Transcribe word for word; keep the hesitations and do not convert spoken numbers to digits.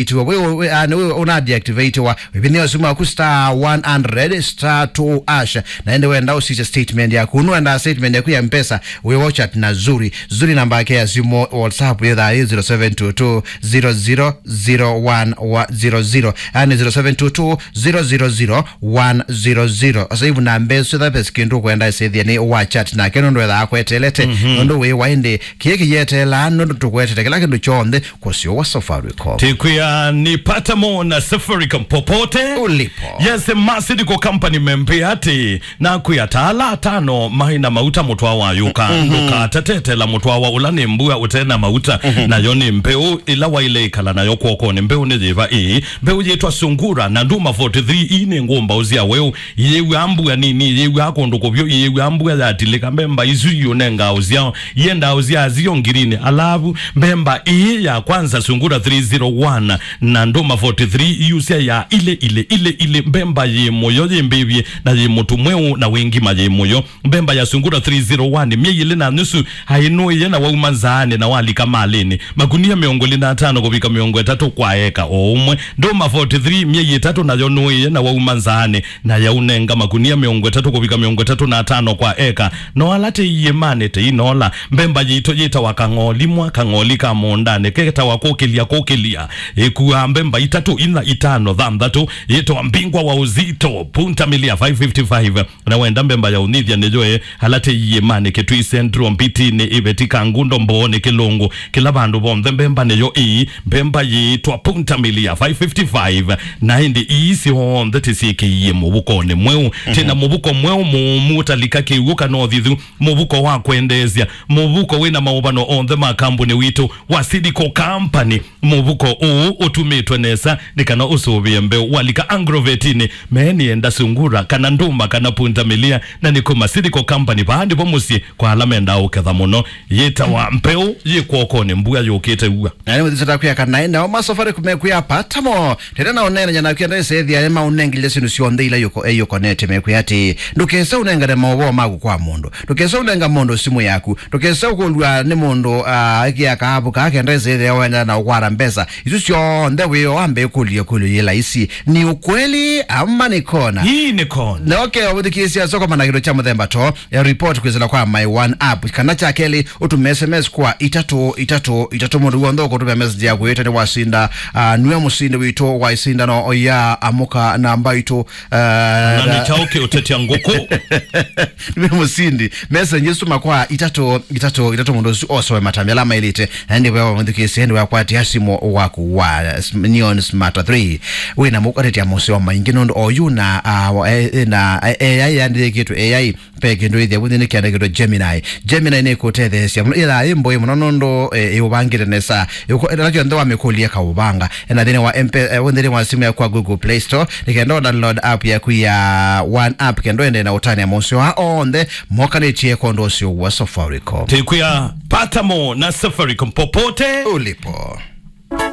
itiwa we, we, ah, nĩ we una deactivate wa. Wĩvinĩo simu yaku star one hundred star two hash. Na ende wenda ũsisya statement yaku. Nũenda statement yaku ya mpesa, wĩ WhatsApp na Zuri. Zuri namba yake ya simu, WhatsApp yethaa ĩ zero seven two two zero zero zero one zero zero. Yani zero seven two two zero zero zero one zero zero. Sasa hivi na mbesu za pesa kindu kwenda sethia ni WhatsApp nake nũndũ ethaa kwetelete. Mhm. Nũndũ wĩ wa ĩndĩ, kĩĩ kĩyetelaa nũndũ tũkwetete kĩla kĩndũ kyonthe kũsyo wa Safaricom. Tikwĩa nĩ pata mo na Safaricom popote. Ulipo. Yes, Masidi kwa company membe ati, na kwĩa ta ala atano mai na mauta mũtwa wa yuka. Mhm. Ndũkatatetela mũtwa wa ũla nĩ mbua ũte na mauta. Mhm. Nayo nĩ mbeũ ĩla waile ikala nayo kwoko. Nĩ mbeũ nĩ yĩva ĩĩ? Mbeũ yĩtwa Sungura na Nduma forty-three. Ii nĩ ngũmbaũ sya weũ. Yĩw'aa mbua nini, yĩw'aa kũndũ kũvyũ, yĩw'aa mbua yatilĩka, mbemba isu iũnengaa ũsyao, iendaa ũsyaa syo ngirini. Alavu, mbemba ĩĩ ya kwanza, Sungura three zero one na Nduma forty-three, iusya ya ile, ile, ile, ile, mbemba yĩ mũyo, yĩ mbĩvye, na yĩ mũtu mweũ, na wĩ ngima yĩ mũyo. Mbemba ya Sungura three zero one, myei ĩlĩ na nusu, aĩ nũĩe na wauma nzaanĩ na walika malĩnĩ. Makunia mĩongo ĩlĩ na atano kũvika mĩongo ĩtatũ kwa eka o ũmwe. Ndũma forty-three, myei ĩtatũ, nayo nũĩe na wauma nzaanĩ na yaũnenga makunia mĩongo ĩtatũ kũvika mĩongo ĩtatũ na atano kwa eka. No ala tei iĩmanĩ tei nola. Mbemba yitũ yĩtawa kang'olimwa, kang'oli ka mũũndanĩ, ketawa kũkĩlya, kũkĩlya. Ĩkuaa mbemba itatũ, inya, itano, thanthatũ, yĩtawa mbingwa wa uzito, punta milia five fifty-five. Na wenda mbemba ya ũnĩthya nĩyo e, ala tei iĩmanĩ, Kitui Central, Mbitinĩ, Iveti, Kangundo, Mbooni, Kĩlũngũ, kĩla vandũ vonthe mbemba nĩyo ĩĩ, mbemba yĩĩtwa punta milia five fifty-five, na ĩndĩ ii syonthe tĩsyĩkĩie mũvukonĩ mweũ. Mhm. Tena mũvuko mweũ mũũmu ũtalika kĩw'ũ kana ũthithu, mũvuko wa kwendeesya, mũvuko wĩna maũvano onthe ma kambuni witũ wa Sidiko Company. Mũvuko ũũ ũtumĩtwe nesa nĩ kana ũsũvĩe mbeũ. Walika Agrovetinĩ, meeni enda Sungura, kana Nduma, kana Punta Milia, na nĩ kuma Sidiko Company, vaa ndĩvo mũsyĩ kwa ala mendaa ũketha mũno. Yĩtawa mbeũ yĩ kwokonĩ, mbua yũkĩte ua. Na nĩ mũthisa takwĩa kana nao ma Safaricom mekwĩa pata mo. Tena na ũneenanya naku enda ĩsethia nĩ maũnengile syĩndũ syonthe ila yuko, e, yukonete, mekwĩa atĩ, ndũkese ũnengane maũvoo maku kwa mũndũ. Ndũkese ũnenga mũndũ simũ yaku. Ndũkese ũkũlw'a nĩ mũndũ, ah, ĩkĩa kaavu kaa kenda ĩsĩthĩa wenda na ũkwata mbesa. Isu syonthe wĩo wambe ĩkũlyo, ĩkũlyo yĩ laisi. Ni ukweli ama ni kona? Hii ni kona. Na okay, ũthikĩĩsya soko mana kĩndũ kya mũthemba to, ya report kwĩsĩla kwa My One app. Kana kya kelĩ, ũtume S M S kwa itatũ itatũ itatũ. Mũndũ w'onthe ũkũtũmĩa message yaku ĩte nĩ wasinda, ah, nue mũsindi witũ wa isindano ya Amũka na Mbaitũ. Ah, na nĩ kyaũ kĩũtetya ngũkũ? Nĩ mũsindi. Message isu tũma kwa itatũ itatũ itatũ, mũndũ ũsu osoe matamya ala maĩlĩte. Na ĩndĩ wewe mũthukĩĩsya, ĩndĩ wakwatia simu waku wa sm-, Neon Smart three. Wĩna mũkwatetia mũseo maingĩ nũndũ oyu na, ah, wa-, e-, e-, na, e-, A I yandĩkĩtwe A I. Ve kĩndũ ĩthĩa vũthi nĩ kĩandĩkĩtwe Gemini. Gemini nĩ kũtetheesya mũno. Ĩthaa ĩ mbũĩ mũno nũndũ, eh, ĩũvangĩte nesa. Ĩũko-, ĩla kyonthe wamĩkũlya kaũvanga. Ena thĩnĩ wa M P, eh, thĩnĩ wa simu yaku kwa Google Play Store, nĩ kenda download app yaku ya One app, kenda ende na ũtania maũseo aa onthe mokanĩtie kwa ũndũ ũseo wa Safaricom. Tĩkwĩa pata mo na Safaricom popote ulipo.